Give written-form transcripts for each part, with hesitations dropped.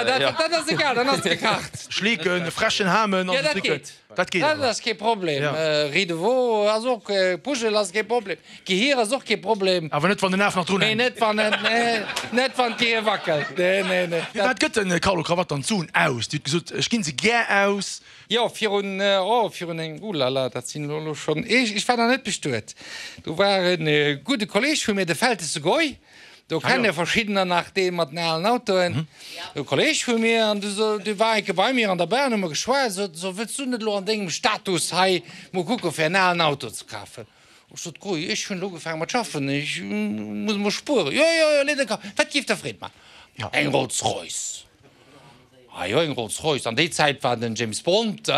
Dat ass egal, dann ass et gekacht. Schleeken, e frechen Hamen an dat geet. Dat geet. Dat ass kee Problem. Riz de veau ass och, Puschel ass kee Problem. Gehier ass och kee Problem. Awer net wann den Af nach drun hänkt. Nee, net wann en, nee, net wann d'Gehier wackelt. Nee, nee, nee. Firwat gëtt den Carlo Cravatte dann d'Suen aus? Dir hutt gesot, ech ginn se gär aus. Jo, virun, oh, virun engem, oulala, dat sinn elo schonn, ech war nach net bestuet. Do war e gudde Kolleeg vu mir, de Feltesse Goy. Do kenne verschiddener nach dee mat den alen Autoen, e Kolleg vu mir, an du so, dee war enke bei mir an der Bahn, hu mer geschwat, sot en, so, wëlls du net elo an dengem Status hei mol kucke fir en alen Auto ze kafen? Ech sot, Gui, ech hunn elo ugefaange mat schaffen, ech muss emol spueren. Jo, jo, jo, leet e Kaf. Wat géif der Freed maachen? Eng Rolls Royce. Ah jo, eng Rolls Royce. An déi Zäit war den James Bond,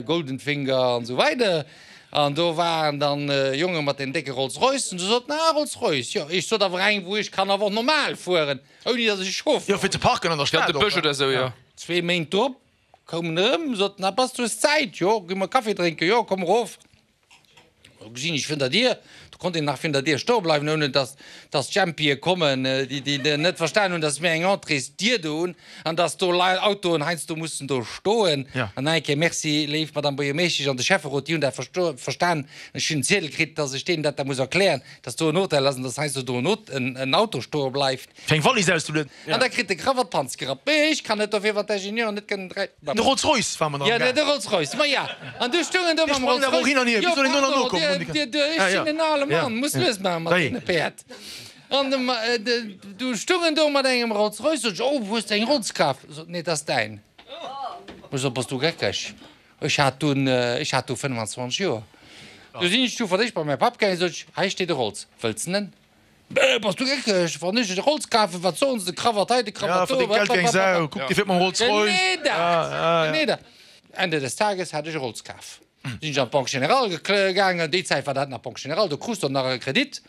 Golden Finger an esou weider. An do waren dann Jonge mat den décke Rolls Roycen. Du sot en, ah Rolls Royce, jo. Ech sot awer eng, wou ech kann awer och normal fueren, ouni datt ech Chauffer. Jo, fir ze parken an der Stad och. De Bësch oder esou, jo. Zwee Méint drop koum en erëm, sot en, ah bass du hues Zäit? Jo, gi mer Kaffi drénken? Jo, komm erof. Do gesinn ech virun der Dier, do konnt een nach virun der Dier stoe bleiwen, ouni dass dass d'Jempie kommen, déi déi net verstan hunn, dass mir eng Entréesdier do hunn an dass do Lei Autoen heiansdo mussen do stoen. An nach eng Kéier Merci, léif Madame Buergermeeschtesch an de Schäfferot, déi hunn dat versto verstan. Ech hunn en Ziedel kritt, dass ech deenen dat da muss erklären, dass do en Hotel ass an dass heiansdo do en en Auto stoe bleift. Fir eng Wallis auszelueden. An da kritt de Krawatt d'Panz gerappt. Mee ech kann net dofir, wann d'Ingenieuren net kënnen dräi. De Rolls Royce war mer nach am Gaang. Jo, de Rolls Royce, ma ja. An du stoungen do mam Rolls Royce. Hin an hier, wéi soll een do nach nokommen? Ech sinn en ale Mann, muss lues maache mat deene Päerd. An du stoungen do mat engem Rolls Royce, sot ech, oh, hues de eng Rolls kaf? Sot, nee, dat ass däin. Ech sot, bass du geckeg? Ech hat dunn, ech hat du 25 Joer. Du sinn ech du fir d'éischt bei mäi Papp gaangen, sot ech, hei steet e Rolls, wëlls en en? Bass du geckeg? Wann ech e Rolls kafen, wat soen se? De Krawatt hei, de Krawatt do. Ja, verdéngt Geld wéi eng Sau. Kuck, dee fiert mam Rolls Royce. Genee dat, genee dat. Ende des Tages hat ech e Rolls kaf. Sinn ech an d'Banque Générale gaangen. Déi Zäit war dat nach Banque Générale, do krus de och nach e Kredit.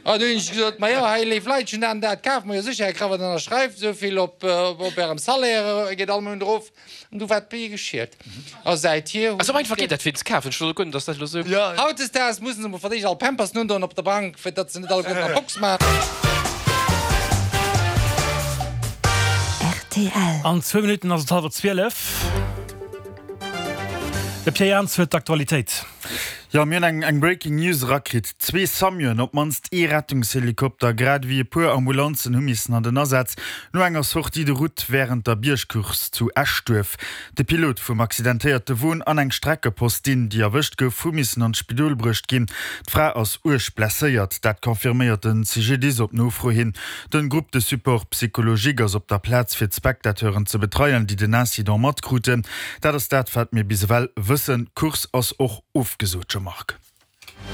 An du hunn ech gesot, Ma jo, hei léif Leit, ech hunn dat an dat kaf. Ma jo sécher, Här Krawatt, ënnerschreift esou vill op Ärem Salaire, geet all Mount erof. An du war d'Bee geschielt. A säithier hunn. Esou einfach geet dat fir ze kafen. Ech wosst guer net dass dat elo esou. Hautdesdaags mussen se mol fir d'éischt all Pampersen undoen op der Bank, fir datt se net alleguerten an d'Box maachen. Rtl. An zwou Minutten ass et hallwer 12. De Pierre Jans huet d'Aktualitéit. Jo, mir hunn eng Breaking News erakritt, Zwee Samuen, op d'mannst ee Rettungshelikopter, grad ewéi e puer Ambulanzen hu missen an den Asaz no enger Sortie de route wärend der Biergcourse zu Eschduerf. De Pilot vum accidentéierte Won an eng Streckepostin, déi erwëscht gouf, hu missen an d'Spidol bruecht ginn. D'Fra ass uerg blesséiert, dat confirméiert den CGDIS op Nofro hin. Den Groupe de support psychologique ass op der Plaz fir d'Spectateuren ze betreien, déi den Incident matkruten. Dat ass dat wat mir bis ewell wëssen. D'Course ass och ofgesot, Jean-Marc.